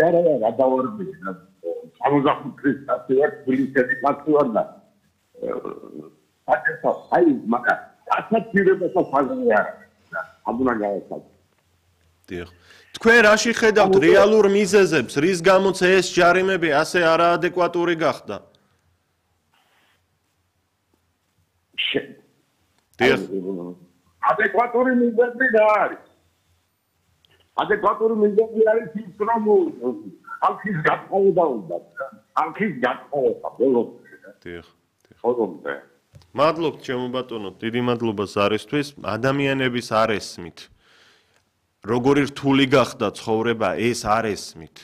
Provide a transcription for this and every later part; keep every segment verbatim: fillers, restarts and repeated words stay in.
არა არა გადავარდი სამოცდახუთი წელი ვარ თბილისში კაცი ვარ და აკეთა აი მაგრამ ასაცირებასა ფაზი არა აბუნა გავაცად დიახ თქვენ რაში ხედავთ რეალურ მიზეზებს რის გამოც ეს ჯარიმები ასე არაადეკვატური გახდა დიახ ადეკვატური მიზეზი რა არის ადეკვატური მიზეზი არის ის რომ ალქის გატყობა უნდა ალქის გატყობა ბოლოს დიახ ხოლმე მადლობთ ჩემო ბატონო დიდი მადლობა ზარისთვის ადამიანების არ ესმით როგორი რთული გახდა ცხოვრება ეს არ ესმით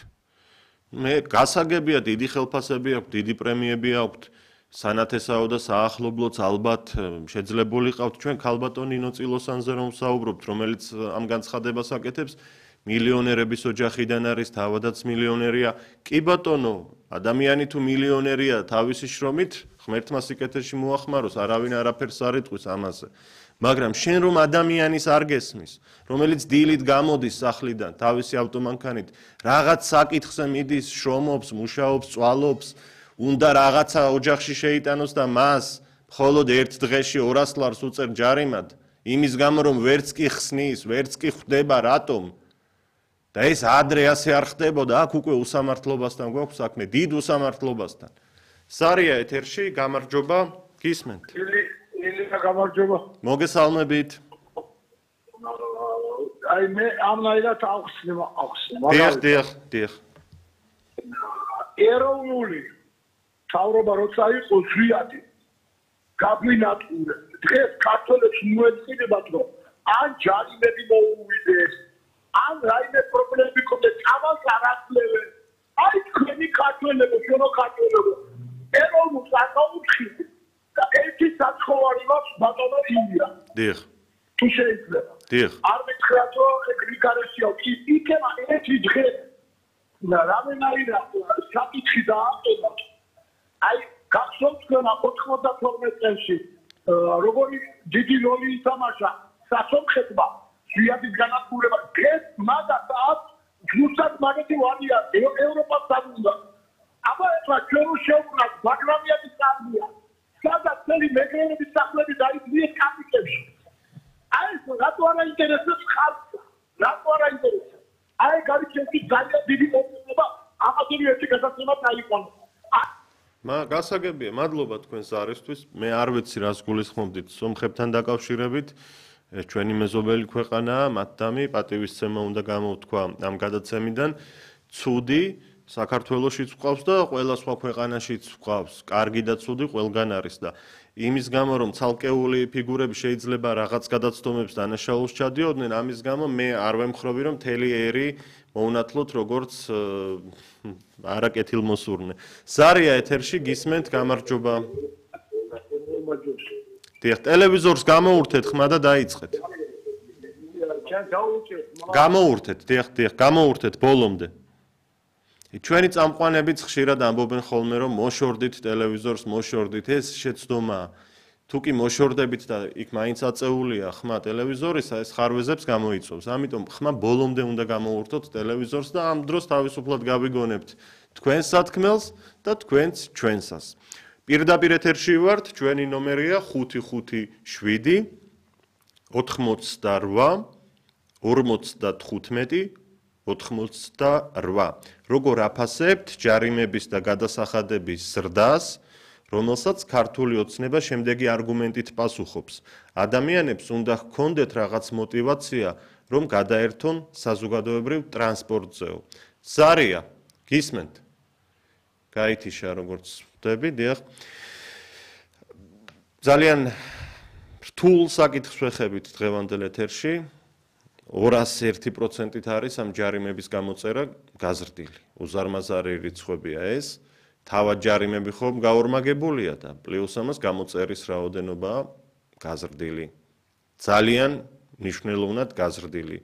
მე გასაგებია დიდი ხელფასები აქვს დიდი პრემიები აქვს სანათესაო და საახლობლოც ალბათ შეძლებული ყავთ ჩვენ ქალბატონ ნინო წილოსანზე რომ ვსაუბრობთ რომელიც ამ განცხადებას აკეთებს მილიონერების ოჯახიდან არის თავადაც მილიონერია კი ბატონო ადამიანი თუ მილიონერია თავისი შრომით ღმერთმა სიკეთეში მოახმაროს არავინ არაფერს არ იტყვის ამაზე მაგრამ შენ რომ ადამიანის არ გესმის რომელიც დილით გამოდის სახლიდან თავისი ავტომანქანით რაღაც საკითხზე მიდის შრომობს მუშაობს წვალობს უნდა რაღაცა ოჯახში შეიტანოს და მას მხოლოდ ერთ დღეში ორას ლარს უწერ ჯარიმად იმის გამო რომ ვერც კი ხსნის ვერც კი ხვდება რატომ და ეს ადრე ასე არ ხდებოდა აქ უკვე უსამართლობასთან გვაქვს საქმე დიდ უსამართლობასთან სარია ეთერში გამარჯობა გისმენთ ილია გამარჯობა მოგესალმებით აი მე ამნაირად ახსნება ახსნება დიახ დიახ დიახ ეროვნული თავრობა როცა იყო ზვიადი გაგვინატყურე დღეს ქართველებს მოეწინებათ რომ ან ჯარიმები მოუვიდეს ან რაიმე პრობლემები ქონდეს ამას არ აკლებენ აი თქვენი ქართველებო შენო ქართველებო ეროვნულ საკითხში და ერთი საცხოვარი მაქვს ბატონო ილია დიახ თუ შეიძლება დიახ არ მითხრათ რომ გრიგარესიო იქნება ერთი დღე და რამენაირად საკითხი დააყენა აი გახსოვთ თქვენ ოთხმოცდათორმეტ წელს როგორი დიდი როლი ითამაშა სასომხეთმა ზვიადის განადგურება დღეს მაგას აქვს ზუსტად მაგეთი ვარია ევროპას დაგვიდა აბა ეხლა ჩვენ შევვნათ ბაგრამიანის წარდია სადაც წელი მეგრელების სახლები დაიწყეს კაპიტებში აი ეს რატო არ აინტერესებს ხალხს რატო არ აინტერესებს აი გარჩევი ძალიან დიდი მოწმობა ამაზე ერთი გადაცემა დაიყვანო მა გასაგებია მადლობა თქვენს არისთვის მე არ ვიცი რას გულისხმობდით სომხებთან დაკავშირებით ჩვენი მეზობელი ქვეყანაა მათდამი პატივისცემა უნდა გამოვთქვა ამ გადაცემიდან ცუდი საქართველოშიც ვყავს და ყველა სხვა ქვეყანაშიც ვყავს კარგი და ცუდი ყველგან არის და იმის გამო რომ ცალკეული ფიგურები შეიძლება რაღაც გადაცდომებს დანაშაულს ჩადიოდნენ ამის გამო მე არ ვემხრობი რომ მთელი ერი მოუნათლოთ როგორც არაკეთილმოსურნე სარია ეთერში გისმენთ გამარჯობა დიახ ტელევიზორს გამოურთეთ ხმა და დაიწყეთ გამოურთეთ დიახ დიახ გამოურთეთ ბოლომდე ჩვენი წამყვანებიც ხშირად ამბობენ ხოლმე რომ მოშორდით ტელევიზორს მოშორდით ეს შეცდომაა თუ კი მოშორდებით და იქ მაინც აწეულია ხმა ტელევიზორისა ეს ხარვეზებს გამოიწვევს ამიტომ ხმა ბოლომდე უნდა გამოურთოთ ტელევიზორს და ამ დროს თავისუფლად გავიგონებთ თქვენს სათქმელს და თქვენც ჩვენსას პირდაპირ ეთერში ვართ ჩვენი ნომერია ხუთი ხუთი შვიდი ოთხმოცდარვა ორმოცდათხუთმეტი ოთხმოცდარვა როგორ აფასებთ ჯარიმების და გადასახადების ზრდას რომელსაც ქართული ოცნება შემდეგი არგუმენტით პასუხობს ადამიანებს უნდა ჰქონდეთ რაღაც мотиваცია რომ გადაერთონ საზოგადოებრივ ტრანსპორტზეო სარია გისმენთ გაითიშა როგორც ვხვდები დიახ ძალიან რთულ საკითხს ვეხებით დღევანდელ ეთერში ორას ერთი პროცენტით არის ამ ჯარიმების გამოწერა გაზრდილი უზარმაზარი რიცხვებია ეს თავად ჯარიმები ხომ გაორმაგებულია და პლუს ამას გამოწერის რაოდენობა გაზრდილი ძალიან მნიშვნელოვნად გაზრდილი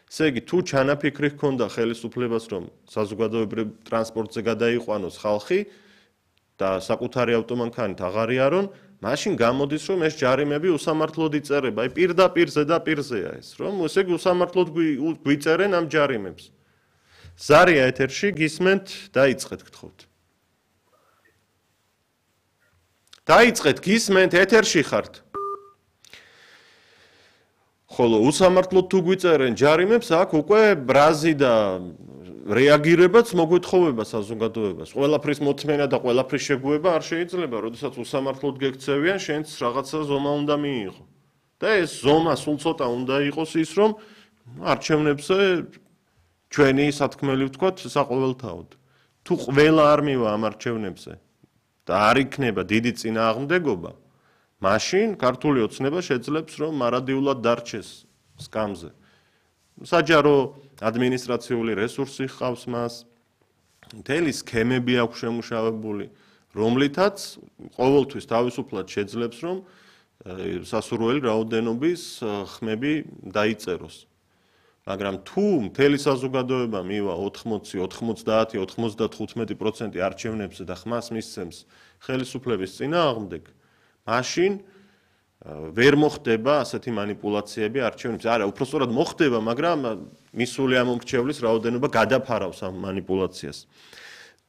ესე იგი თუ ჩანაფიქრი ჰქონდა ხელისუფლებას რომ საზოგადოებრივ ტრანსპორტზე გადაიყვანოს ხალხი და საკუთარი ავტომანქანით აღარ იარონ მაშინ გამოდის რომ ეს ჯარიმები უსამართლოდ იწერება აი პირდაპირ ზედაპირზეა ეს რომ ესე იგი უსამართლოდ გვიწერენ ამ ჯარიმებს ზარია ეთერში გისმენთ, დაიწყეთ გთხოვთ. დაიწყეთ გისმენთ, ეთერში ხართ. ხოლო უსამართლოდ თუ გვიწერენ ჯარიმებს, აქ უკვე ბრაზი და რეაგირებაც მოგვითხოვება საზოგადოებას. ყველაფრის მოთმენა და ყველაფრის შეგუება არ შეიძლება, როდესაც უსამართლოდ გექცევიან, შენც რაღაცა ზომა უნდა მიიღო. და ეს ზომა სულ ცოტა უნდა იყოს ის, რომ არჩევნებზე ჩვენი სათქმელი ვთქვათ, საყოველთაოდ. თუ ყველა არ მივა ამ არჩევნებზე და არ იქნება დიდი წინააღმდეგობა, მაშინ ქართული ოცნება შეძლებს, რომ მარადიულად დარჩეს სკამზე. საჯარო ადმინისტრაციული რესურსი ჰყავს მას, მთელი სქემები აქვს შემუშავებული, რომლითაც ყოველთვის თავისუფლად შეძლებს, რომ სასურველი რაოდენობის ხმები დაიწეროს. მაგრამ თუ მთელი საზოგადოება მივა ოთხმოცი, ოთხმოცდაათი, ოცდათხუთმეტი პროცენტი არჩევნებზე და ხმას მისცემს ხელისუფლების წინააღმდეგ, მაშინ ვერ მოხდება ასეთი манипуляციები არჩევნებზე. არა, უпростоრად მოხდება, მაგრამ მისული ამომრჩევლის რაოდენობა გადაფარავს ამ манипуляციას.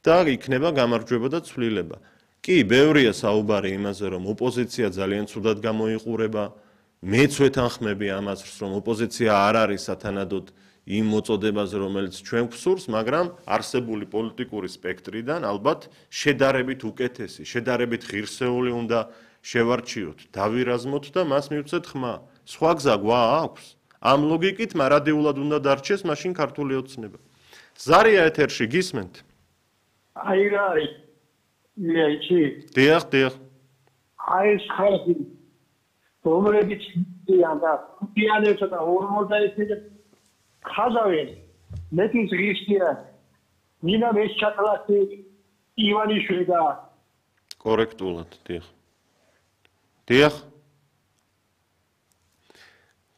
და იქნება გამარჯვება და ცვლილება. კი, ბევრია საუბარი იმაზე, რომ ოპოზიცია ძალიან ცუდად გამოიყურება. მეც ვეთანხმები ამას, რომ ოპოზიცია არ არის სათანადოდ იმ მოწოდებაზე, რომელიც ჩვენ გვსურს, მაგრამ არსებული პოლიტიკური სპექტრიდან ალბათ შედარებით უკეთესი, შედარებით ღირსეული უნდა შევარჩიოთ, დავირაზმოთ და მას მივცეთ ხმა. სხვა გზა გვა აქვს? ამ ლოგიკით მარადიულად უნდა დარჩეს მაშინ ქართული ოცნება. ზარია ეთერში გისმენთ? აი რა არის? მეჩი. დიახ, დიახ. აი ეს ხალხი რომლებიც დიან და დიანებს და ორმოცდაერთი ხაზავენ მეტის ღირსია მინა მეშჩაკლასი ივანიშვილი და კორექტულად, დიახ. დიახ.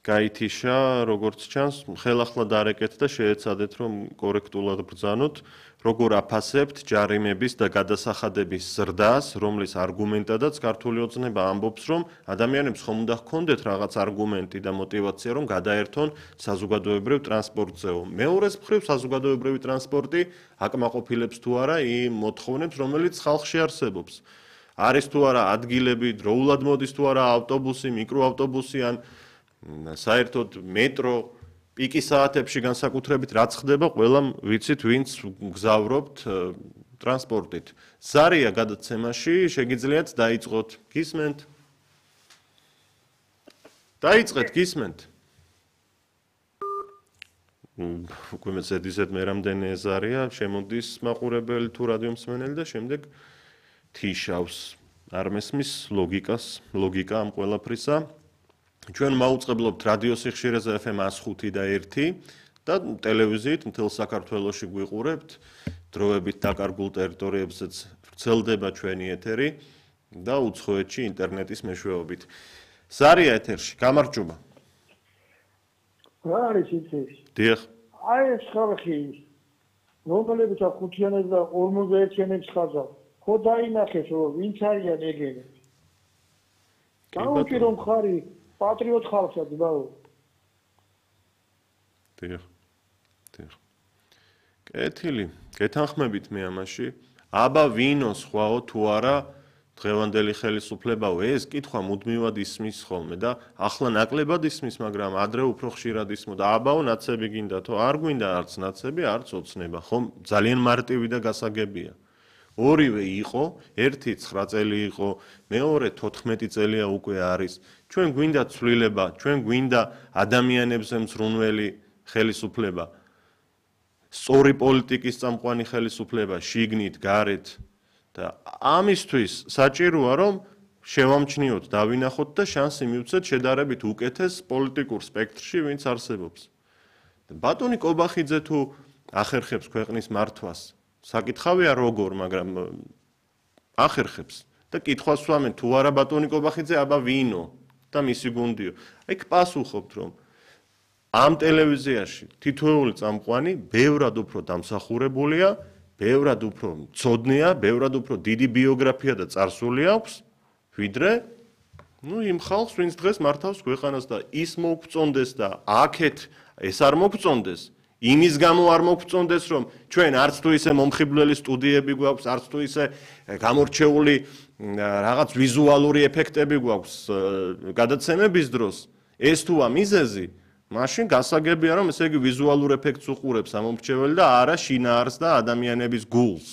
გაითიშა, როგორც ჩანს, ხელახლა დარეკეთ და შეეცადეთ, რომ კორექტულად ბრძანოთ, როგორ აფასებთ ჯარიმების და გადასახადების ზრდას, რომლის არგუმენტადაც ქართული ოცნება ამბობს, რომ ადამიანებს ხომ უნდა ჰქონდეთ რაღაც არგუმენტი და мотиваცია, რომ გადაერთონ საზოგადოებრივ ტრანსპორტზეო. მეორეს მხრივ საზოგადოებრივი ტრანსპორტი აკმაყოფილებს თუ არა იმ მოთხოვნებს, რომელიც ხალხში არსებობს. არის თუ არა ადგილები, დროულად მოდის თუ არა ავტობუსი, მიკროავტობუსი ან საერთოდ მეტრო პიკის საათებში განსაკუთრებით რაც ხდება, ყველამ ვიცით, ვინც გზავრობთ ტრანსპორტით. ზარია გადაცემაში შეგიძლიათ დაიწყოთ. გისმენთ? დაიწყეთ, გისმენთ? უკვე მეცეთ ისეთ მე რამდენი ზარია, შემოდის მაყურებელი თუ რადიო მსმენელი და შემდეგ თიშავს. არ მესმის ლოგიკას, ლოგიკა ამ ყველაფრისა. ჩვენ მაუწყებლობთ რადიო სიხშირეზე ეფ ემ εκατო ხუთი და ერთი და ტელევიზიით მთელ საქართველოში გვიყურებთ. დროებით დაკარგულ ტერიტორიებზეც ვრცელდება ჩვენი ეთერი და უცხოეთში ინტერნეტის მეშვეობით. ზარია ეთერში, გამარჯობა. რა არის ის? დიახ. აი ეს ხალხი, რომლებიც ხუთიანებს და ორმოცდაერთიანებს ხაზავ, ხო დაინახეს, რომ ვინც არიან ეგენი. გაუჭი რომ ხარი პატრიოტ ხალხად ბაო. დიახ. დიახ. კეთილი, გეთანხმებით მე ამაში. აბა ვინო სხვაო თუ არა დღევანდელი ხელისუფლებაო, ეს კითხვა მუდმივად ისმის ხოლმე და ახლა ნაკლებად ისმის, მაგრამ ადრე უფრო ხშირად ისმოდა. აბაო ნაცები გინდა თუ არ გვინდა არც ნაცები, არც ოცნება, ხომ ძალიან მარტივი და გასაგებია. ორივე იყო, ერთი ცხრა წელი იყო, მეორე თოთხმეტი წელია უკვე არის. ჩვენ გვინდა ცვლილება, ჩვენ გვინდა ადამიანებზე მზრუნველი ხელისუფლება. სწორი პოლიტიკის წამყვანი ხელისუფლება, შიგნით, გარეთ და ამისთვის საჭიროა, რომ შევამჩნიოთ, დავინახოთ და შანსი მივცეთ შედარებით უკეთეს პოლიტიკურ სპექტრში, ვინც არსებობს. ბატონი კობახიძე თუ ახერხებს ქვეყნის მართვას, საკითხავია როგორ, მაგრამ ახერხებს და კითხვას ვამენ, თუ არა ბატონი კობახიძე, აბა ვინო და მისი გუნდიო. ეგ პასუხობთ, რომ ამ ტელევიზიაში თითოეული წამყვანი ბევრად უფრო დამსახურებულია, ბევრად უფრო მწოდნეა, ბევრად უფრო დიდი ბიოგრაფია და წარსული აქვს, ვიდრე ნუ იმ ხალხს, ვინც დღეს მართავს ქვეყანას და ის მოგწონდეს და აქეთ ეს არ მოგწონდეს, იმის გამო არ მოგწონდეს, რომ ჩვენ არც თუ ისე მომხიბვლელი სტუდიები გვაქვს, არც თუ ისე გამორჩეული რაღაც ვიზუალური ეფექტები გვაქვს გადაცემების დროს, ეს თუა მიზეზი, მაშინ გასაგებია, რომ ესე იგი ვიზუალურ ეფექტს უყურებს ამომრჩეველი და არა შინაარსს და ადამიანების გულს.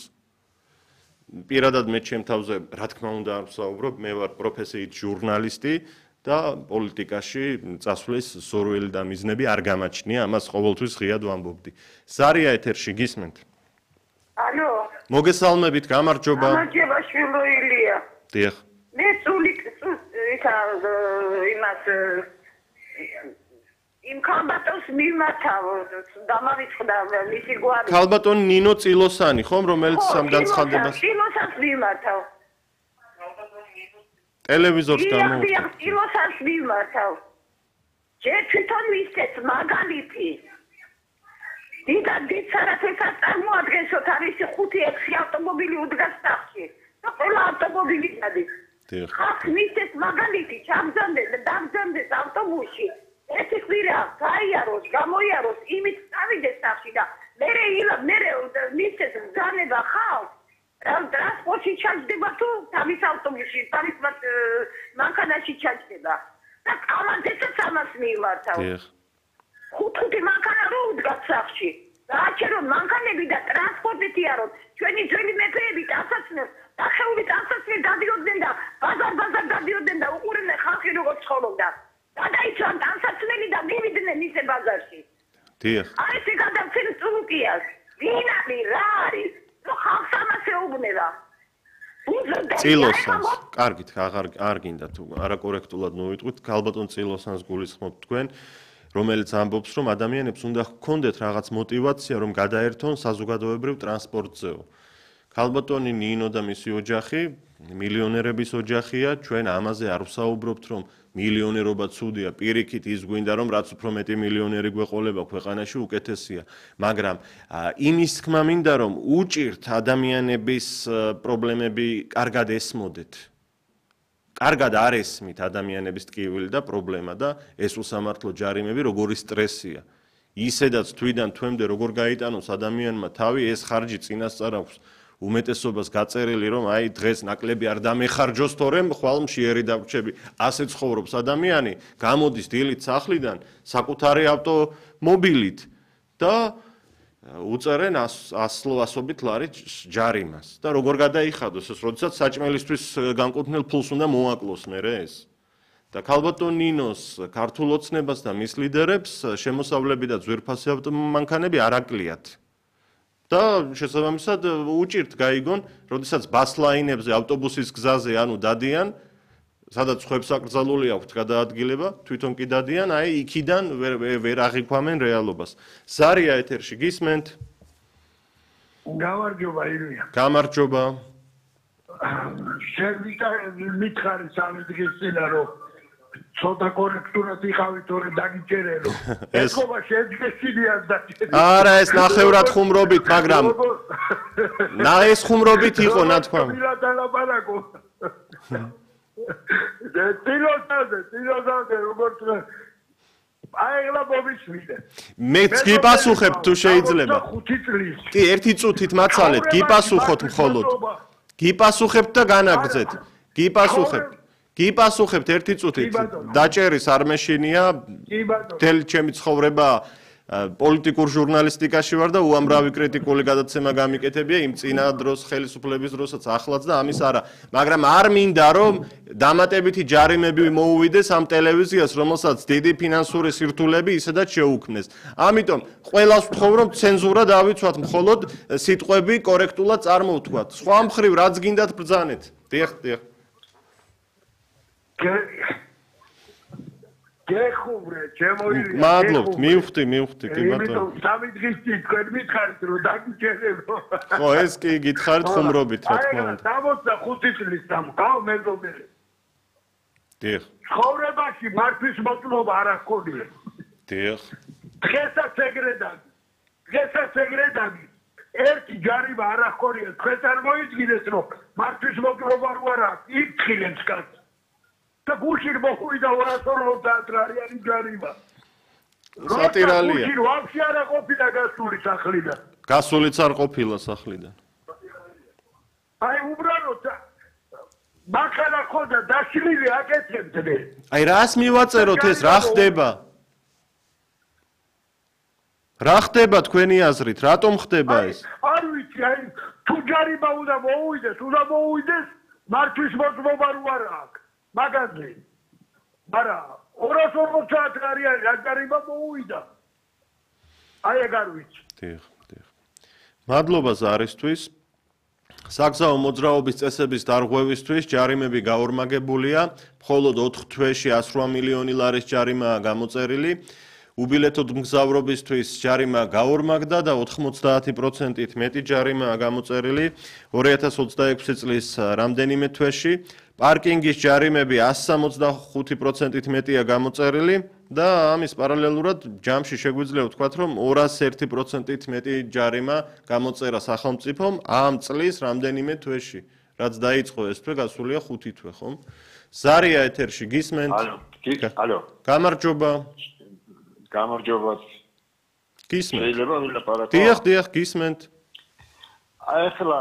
პირადად მე ჩემ თავზე, რა თქმა უნდა, არ ვსაუბრობ, მე ვარ პროფესიით ჟურნალისტი და პოლიტიკაში წასვლის სურვილი და მიზნები არ გამაჩნია, ამას ყოველთვის ღიად ვამბობდი. ზარია ეთერში გისმენთ? ალო. მოგესალმებით, გამარჯობა. გამარჯობა, შვილო ილია. დიახ. მე სული ისა იმას იმ ქალბატონს მიმართავ, დამავიწყდა მისი გვარი. ქალბატონ ნინო წილოსანი, ხომ, რომელიც ამ განცხადებას წილოსანს მიმართავ. ტელევიზორს გამო. დიახ, წილოსანს მიმართავ. ჯერ თვითონ მისცეს მაგალითი. დიდა დიცარათესაც წარმოადგენსოთ არის ხუთი ექვსი ავტომობილი უდგას სახში. და ყველა ავტომობილი გადის. დიახ. ხალხ მისცეს მაგალითი, ჩამგზავნეს და დამგზავნეს ავტობუსში. ერთი ხვირა გაიაროს, გამოიაროს, იმით წავიდეს სახში და მერე ილა მერე მისცეს ბრძანება ხალხს. ტრანსპორტში ჩაჯდება თუ თავის ავტობუსში, თავის მანქანაში ჩაჯდება. და კამანდესაც ამას მიმართავ. დიახ. ხუთი მანქანა რო უდგას სახში. გააჩერონ მანქანები და ტრანსპორტით იაროთ. ჩვენი ძველი მეფეები ტანსაცმელს, დახეული ტანსაცმელი დადიოდნენ და ბაზარ-ბაზარ დადიოდნენ და უყურებდნენ ხალხი როგორ ცხოვრობდა. გადაიცვან ტანსაცმელი და მივიდნენ ისე ბაზარში. დიახ. აი ეს გადაცემ წულუკიას. ვინ არის, რა არის? რო ხალხს ამას ეუბნება. წილოსანს, კარგით, აღარ არ გინდა თუ არაკორექტულად მოვიტყვით, ქალბატონ წილოსანს გულისხმობთ თქვენ, რომელიც ამბობს, რომ ადამიანებს უნდა ჰქონდეთ რაღაც мотиваცია, რომ გადაერთონ საზოგადოებრივ ტრანსპორტზეო. ქალბატონი ნინო და მისი ოჯახი, მილიონერების ოჯახია, ჩვენ ამაზე არ ვსაუბრობთ, რომ მილიონერობა ცუდია, პირიქით ის გვინდა, რომ რაც უფრო მეტი მილიონერი გვეყოლება ქვეყანაში, უკეთესია. მაგრამ იმის თქმა მინდა, რომ უჭირთ ადამიანების პრობლემები კარგად ესმოდეთ. კარგად არ ესმით ადამიანების ტკივილი და პრობლემა და ეს უსამართლო ჯარიმები როგორი სტრესია. ისედაც თვიდან თვემდე როგორ გაიტანოს ადამიანმა თავი, ეს ხარჯი წინასწარ აქვს. უმეტესობას გაწერილი, რომ აი დღეს ნაკლები არ დამეხარჯოს, თორემ ხვალ მშიერი დავრჩები. ასე ცხოვრობს ადამიანი, გამოდის დილით სახლიდან საკუთარი ავტომობილით და უწერენ ასლო ასობით ლარი ჯარიმას. და როგორ გადაიხადოს ეს, როდესაც საჭმელისთვის განკუთვნილ ფულს უნდა მოაკლოს მერე ეს. და ქალბატონ ნინოს ქართულ ოცნებას და მის ლიდერებს შემოსავლები და ძვირფასი ავტომანქანები არ აკლიათ. და შესაბამისად უჭირთ გაიგონ, როდესაც ბასლაინებზე, ავტობუსის გზაზე ანუ დადიან, სადაც ხვებს აკრძალული აქვთ გადაადგილება, თვითონ კი დადიან, აი იქიდან ვერ ვერ აღიქვამენ რეალობას. ზარია ეთერში გისმენთ? გამარჯობა ილია. გამარჯობა. შევიდა მითხარი სამი დღის წინ რომ ცოტა კორექტურად იყავით, თორე დაგიჭერელო. ეხობა შეძგესინიათ დაჭერილი. არა, ეს ნახევრად ხუმრობით, მაგრამ ნა ეს ხუმრობით იყო ნათქვამი. მილადალაპარაკო. და ტილოსაზე, ტილოსაზე როგორც აი ეხლა მომისმინე. მეც გიპასუხებ თუ შეიძლება. ხუთი წლის. კი, ერთი წუთით მაცალეთ, გიპასუხოთ მხოლოდ. გიპასუხებთ და განაგრძეთ. გიპასუხებთ. გიპასუხებთ ერთი წუთით. დაჭერის არ მეშინია. თელ ჩემი ცხოვრება პოლიტიკურ ჟურნალისტიკაში ვარ და უამრავი კრიტიკული გადაცემა გამიკეთებია იმ წინა დროს ხელისუფლების დროსაც ახლაც და ამის არა. მაგრამ არ მინდა რომ დამატებითი ჯარიმები მოუვიდეს ამ ტელევიზიას, რომელსაც დიდი ფინანსური სირთულეები ისედაც შეუქმნეს. ამიტომ ყველას ვთხოვ რომ ცენზურა დავიცვათ, მხოლოდ სიტყვები კორექტულად წარმოვთქვათ. სხვა მხრივ რაც გინდათ ბრძანეთ. დიახ, დიახ. გეხუბრე, ჩემოილია. მადლობთ, მივხვდი, მივხვდი, კი ბატონო. იმიტომ სამი დღის წინ თქვენ მითხარით რომ დაგიჭერებო. ხო, ეს კი გითხარით ხუმრობით, რა თქმა უნდა. აი, სამოცდა ხუთი წლის ამ გავ მეზობელი. დიახ. ცხოვრებაში მართვის მოწმობა არ ახონია. დიახ. დღესაც ეგრე დაგი. დღესაც ეგრე დაგი. ერთი ჯარიმა არ ახონია, თქვენ წარმოიდგინეთ რომ მართვის მოწმობა არ აქვს, იფთხილებს კაც. და გუშინ მოხვიდა ორასორმოცდაათი არიანი ჯარიმა. სატირალია. ვაფშე არა ყოფილა გასული სახლიდან. გასულიც არ ყოფილა სახლიდან. აი უბრალოდ მახალა ხოდა დაშლილი აკეთებდნენ. აი რას მივაწეროთ ეს რა ხდება? რა ხდება თქვენი აზრით? რატომ ხდება ეს? არ ვიცი, აი თუ ჯარიმა უნდა მოუვიდეს, უნდა მოუვიდეს მართვის მოძმობა რო არ აქვს. მაგაზე. არა, ორას ორმოცი საათი არის რა ჯარიმა მოუვიდა. აი ეგ არ ვიცი. დიახ, დიახ. მადლობა ზარისთვის. საგზაო მოძრაობის წესების დარღვევისთვის ჯარიმები გაორმაგებულია, მხოლოდ ოთხ თვეში εκατი რვაასი მილიონი ლარის ჯარიმაა გამოწერილი. უბილეთოდ მგზავრობისთვის ჯარიმა გაორმაგდა და ოთხმოცდაათი პროცენტით მეტი ჯარიმაა გამოწერილი ორი ათას ოცდაექვსი წლის რამდენიმე თვეში. პარკინგის ჯარიმები εκατი სამოცდახუთი პროცენტით მეტია გამოწერილი და ამის პარალელურად ჯამში შეგვიძლია ვთქვათ, რომ ორასი ერთი პროცენტით მეტი ჯარიმა გამოწერა სახელმწიფომ ამ წლის რამდენიმე თვეში, რაც დაიწყო ეს თვე, გასულია ხუთი თვე, ხომ? ზარია ეთერში გისმენთ? ალო, ალო. გამარჯობა. გამარჯობა. გისმენთ? შეიძლება ვილაპარაკო? დიახ, დიახ, გისმენთ. აი ახლა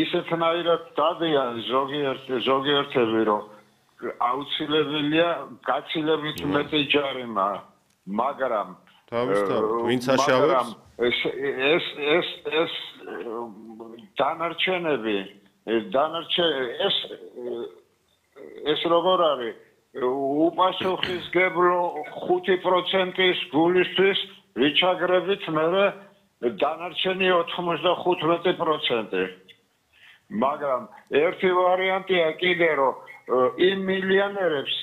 ისეთნაირად დადიან ზოგიერთ ზოგიერთები, რომ აუცილებელია გაცილებით მეტი ჯარიმა, მაგრამ თავისთავად, ვინც აშავებს? ეს ეს ეს ეს დანარჩენები, დანარჩენ ეს ეს როგორ არის? უპასუხისმგებლო ხუთი პროცენტის გულისთვის ვიჩაგრებით მე დანარჩენი ოთხმოცდახუთი პროცენტი. მაგრამ ერთი ვარიანტია კიდე რომ იმ მილიონერებს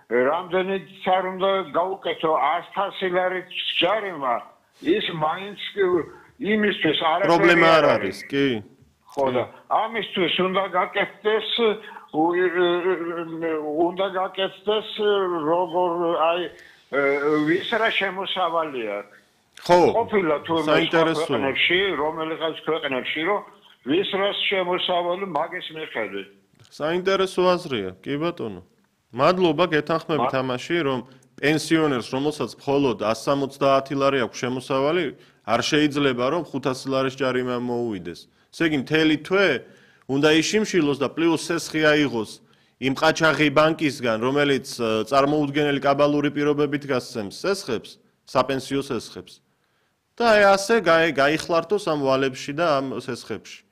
რამდენიც არ უნდა გაუკეთო ათასი ლარი ჯარიმა, ის მაინც იმისთვის არაფერი პრობლემა არ არის, კი? ხო და ამისთვის უნდა გაკეთდეს უნდა გაკეთდეს როგორ აი ვის რა შემოსავალი აქვს. ხო, ყოფილა თუ საინტერესოა. ქვეყნებში, რომელიღაც ქვეყნებში, რომ ვის რას შემოსავალი მაგის მიხედვით. საინტერესო აზრია, კი ბატონო. მადლობა, გეთანხმებით ამაში, რომ პენსიონერს, რომელსაც მხოლოდ εκατი სამოცდაათი ლარი აქვს შემოსავალი, არ შეიძლება რომ ხუთასი ლარის ჯარიმა მოუვიდეს. ესე იგი, მთელი თვე უნდა იშიმშილოს და პლუს სესხი აიღოს იმ ყაჩაღი ბანკისგან, რომელიც წარმოუდგენელი კაბალური პირობებით გასცემს სესხებს, საპენსიო სესხებს. და აი ასე გაიხლართოს ამ ვალებში და ამ სესხებში.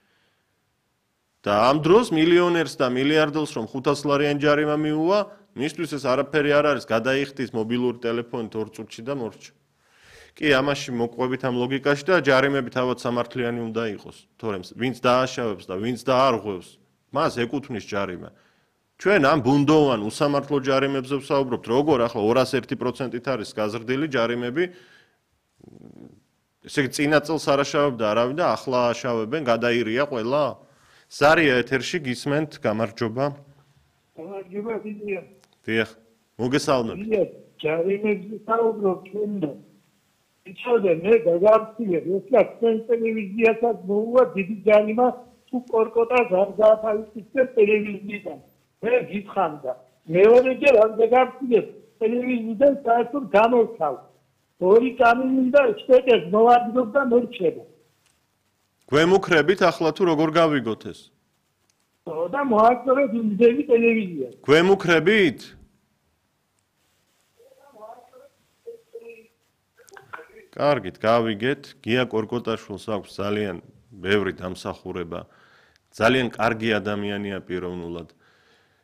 და ამ დროს მილიონერს და მილიარდელს რომ ხუთასი ლარიანი ჯარიმა მიუვა, მისთვის ეს არაფერი არ არის, გადაიხდის მობილური ტელეფონით ორ წუთში და მორჩა. კი, ამაში მოყვებით ამ ლოგიკაში და ჯარიმები თავად სამართლიანი უნდა იყოს, თორემ ვინც დააშავებს და ვინც დაარღვევს, მას ეკუთვნის ჯარიმა. ჩვენ ამ ბუნდოვან უსამართლო ჯარიმებზე ვსაუბრობთ, როგორ ახლა ორასი ერთი პროცენტით არის გაზრდილი ჯარიმები. ესე იგი, წინა წელს არ აშავებდა არავინ და ახლა აშავებენ, გადაირია ყველა? ზარია ეთერში გისმენთ, გამარჯობა. გამარჯობა, დიდია. დიახ, მოგესალმებით. დიდია, ჯარიმებზე საუბრობ ჩვენ და იცოდე მე გაგარწიე, ესლა ჩვენ ტელევიზიასაც მოუვა დიდი ჯარიმა თუ კორკოტას არ გაათავისუფლებს ტელევიზიიდან. მე გითხამდა. მეორეჯერ არ გაგარწიე, ტელევიზიიდან საერთოდ გამოვცავ. ორი კამინი და შტეკეს მოვადგინოთ და მორჩება. გვემუქრებით ახლა თუ როგორ გავიგოთ ეს? და მოაწერეთ იმდენი ტელევიზია. გვემუქრებით? კარგით, გავიგეთ. გია კორკოტაშვილს აქვს ძალიან ბევრი დამსახურება. ძალიან კარგი ადამიანია პიროვნულად.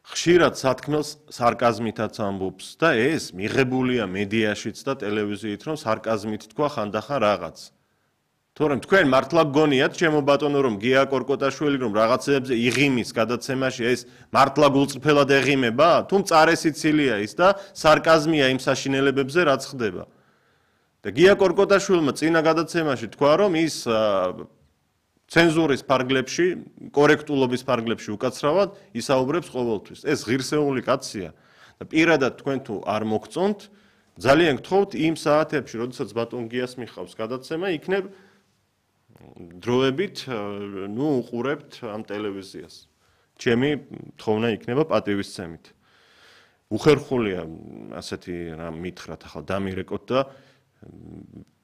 ხშირად სათქმელს სარკაზმითაც ამბობს და ეს მიღებულია მედიაშიც და ტელევიზიით, რომ სარკაზმით თქვა ხანდახან რაღაც. თორემ თქვენ მართლა გგონიათ, ჩემო ბატონო, რომ გია კორკოტაშვილი რომ რაღაცებზე იღიმის გადაცემაში ეს მართლა გულწრფელად ეღიმება? თუ მწარე სიცილია ის და სარკაზმია იმ საშინელებებზე, რაც ხდება. და გია კორკოტაშვილმა წინა გადაცემაში თქვა, რომ ის ცენზურის ფარგლებში, კორექტულობის ფარგლებში უკაცრავად ისაუბრებს ყოველთვის. ეს ღირსეული კაცია და პირადად თქვენ თუ არ მოგწონთ, ძალიან გთხოვთ იმ საათებში, როდესაც ბატონ გიას მიხავს გადაცემა, იქნებ დროებით, ნუ უყურებთ ამ ტელევიზიას. ჩემი თხოვნა იქნება პატივისცემით. უხერხულია ასეთი რამ მითხრათ ახლა დამირეკოთ და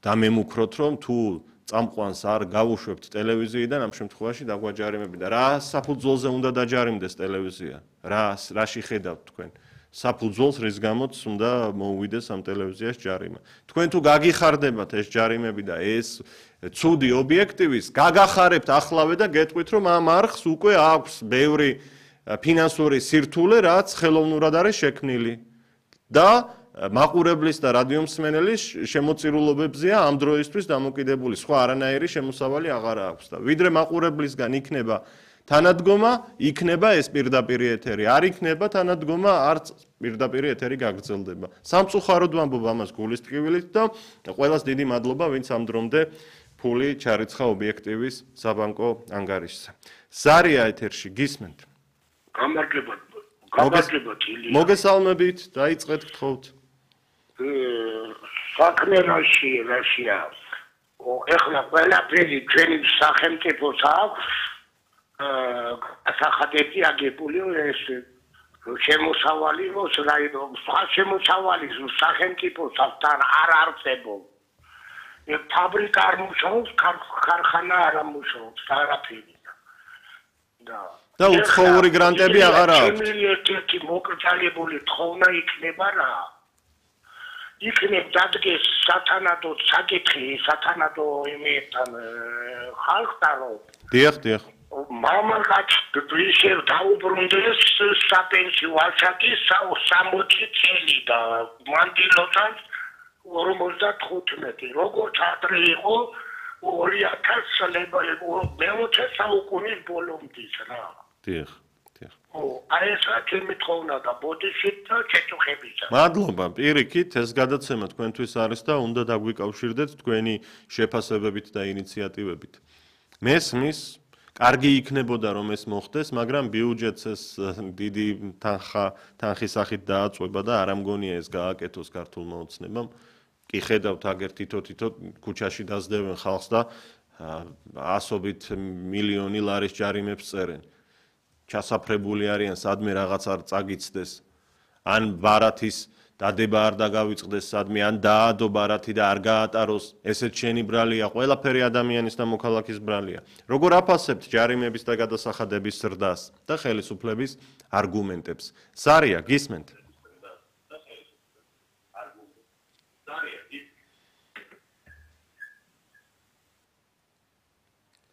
დამემუქროთ რომ თუ წამყვანს არ გავუშვებთ ტელევიზიიდან ამ შემთხვევაში დაგვაჯარიმები და რა საფუძველზე უნდა დაჯარიმდეს ტელევიზია რა რაში ხედავთ თქვენ საფუძველს რის გამოც უნდა მოუვიდეს ამ ტელევიზიას ჯარიმა თქვენ თუ გაგიხარდებათ ეს ჯარიმები და ეს ცუდი ობიექტივის გაგახარებთ ახლავე და გეტყვით რომ ამ არხს უკვე აქვს ბევრი ფინანსური სირთულე რაც ხელოვნურად არის შექმნილი და მაყურებლის და რადიომსმენელის შემოწირულობებზეა ამ დროისთვის დამოკიდებული სხვა არანაირი შემოსავალი აღარ აქვს და ვიდრე მაყურებლისგან იქნება თანადგომა იქნება ეს პირდაპირი ეთერი არ იქნება თანადგომა არც პირდაპირი ეთერი გაგრძელდება სამწუხაროდ ვამბობ ამას გულის ტკივილით და ყველას დიდი მადლობა ვინც ამ დრომდე ფული ჩარიცხა ობიექტივის საბანკო ანგარიშზე ზარია ეთერში გისმენთ გამარჯობა გამარჯობა ილია მოგესალმებით დაიწყეთ გთხოვთ საქმე რაში რაშია ეხლა ყველაფერი ჩვენი სახელმწიფოს აქვს სახადები აგებული ეს შემოსავალი როს რაიდო სხვა შემოსავალი სახელმწიფოს თან არ არსებობს ფაბრიკა არ მუშაობს ქარხანა არ მუშაობს არაფერი და და უცხოური გრანტები აღარ აქვს ერთი მოკრძალებული თხოვნა იქნება რა იქნებ დადგეს სათანადო საკითხი სათანადო იმეთან ხალხთან რომ დიახ დიახ მამაკაც ისე დაუბრუნდეს საპენსიო ასაკი სამოცი წელი და მანდილოთან ორმოცდათხუთმეტი როგორც ადრე იყო ორი ათას წელი მეოცე საუკუნის ბოლომდის რა დიახ დიახ ო აი ეს ჩემი თხოვნა და ბოდიშით და ჩეჩუხებიცა მადლობა პირიქით ეს გადაცემა თქვენთვის არის და უნდა დაგვიკავშირდეთ თქვენი შეფასებებით და ინიციატივებით მესმის კარგი იქნებოდა რომ ეს მოხდეს, მაგრამ ბიუჯეტს ეს დიდი თანხა თანხის სახით დააწყვება და არ ამგონია ეს გააკეთოს ქართულმა ოცნებამ. კი ხედავთ აგერ თითო-თითო ქუჩაში დაძდევენ ხალხს და ასობით მილიონი ლარის ჯარიმებს წერენ. ჩასაფრებული არიან სადმე რაღაც არ წაგიცდეს. ან ბარათის დადება არ დაგავიწყდეს სადმე ან დაადო ბარათი და არ გაატაროს ესეც შენი ბრალია ყველაფერი ადამიანის და მოქალაქის ბრალია როგორ აფასებთ ჯარიმების და გადასახადების ზრდას და ხელისუფლების არგუმენტებს ზარია გისმენთ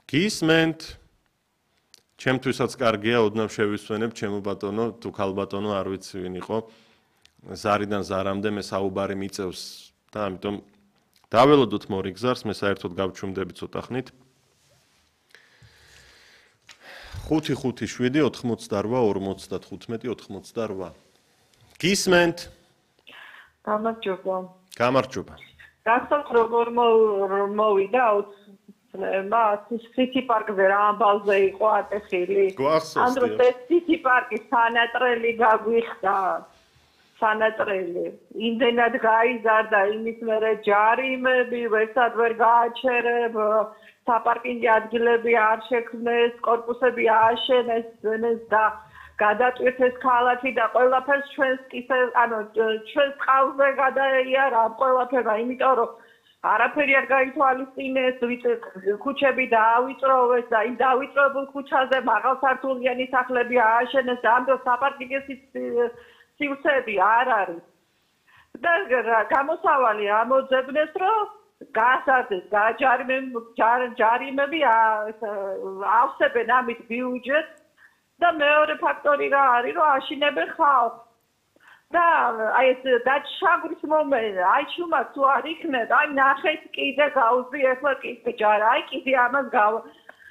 გისმენთ ჩემთვისაც კარგია ოდნავ შევისვენებ ჩემო ბატონო თუ ქალბატონო არ ვიცი ვინ იყო ზარიდან ზარამდე მე საუბარი მიწევს და ამიტომ დაველოდოთ მორიგზარს მე საერთოდ გავჩუმდები ცოტა ხნით ხუთი ხუთი შვიდი ოთხმოცდარვა ორმოცდათხუთმეტი ოთხმოცდარვა გისმენთ გამარჯობა გამარჯობა გასწორ როგორ მოვიდა მა სიტი პარკზე რა ამბავზე იყო ატეხილი ამ დროს ეს სიტი პარკის სანატრელი გაგვიხდა სანატრელი იმდენად გაიზარდა იმის მერე ჯარიმები ვერსად ვერ გააჩერებ საპარკინგი ადგილები არ შექმნეს კორპუსები ააშენეს და გადაწყვეტეს ქალაქი და ყველაფერს ჩვენს კისე ანუ ჩვენს ყავზე გადაიარა ყველაფერმა იმიტომ რომ არაფერი არ გაითვალისწინეს ქუჩები დაავიწროვეს და იმ დაავიწროებულ ქუჩაზე მაღალსართულიანი სახლები ააშენეს და ამ დროს საპარკინგის სივრცეები არ არის და გამოსავალი ამოძებნეს რომ გასარდეს ჯარიმები ავსებენ ამით ბიუჯეტს და მეორე ფაქტორი რა არის რომ აშინებენ ხალხს და აი ეს დაჩაგვის მომენტი აი შუმა თუ არ იქნება აი ნახეთ კიდე გავუზი ახლა კიდე ჯარა აი კიდე ამას გავ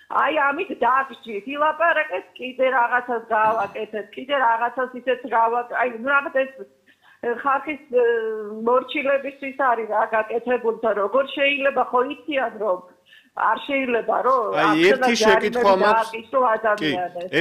აი ამით დაგჭირთ ილაპარაკეთ კიდე რაღაცას გავაკეთეთ კიდე რაღაცას ისეთ გავაკეთეთ აი რაღაც ეს ხალხის მორჩილებისთვის არის რა გაკეთებული და როგორ შეიძლება ხო იციან რომ არ შეიძლება რომ აი ერთი შეკითხვა მაქვს კი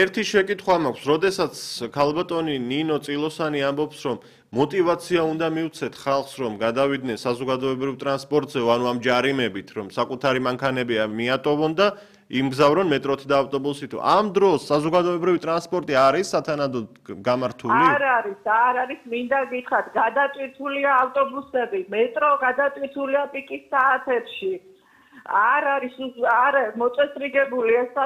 ერთი შეკითხვა მაქვს როდესაც ქალბატონი ნინო წილოსანი ამბობს რომ мотивация უნდა მივცეთ ხალხს რომ გადავიდნენ საზოგადოებრივ ტრანსპორტზე ანუ ამ ჯარიმებით რომ საკუთარი მანქანები მიატოვონ და იმგზავრონ მეტროთი და ავტობუსით. ამ დროს საზოგადოებრივი ტრანსპორტი არის სათანადოდ გამართული? არ არის, არ არის, მინდა გითხრათ, გადატვირთულია ავტობუსები, მეტრო გადატვირთულია პიკის საათებში. არ არის, არ მოწესრიგებული ეს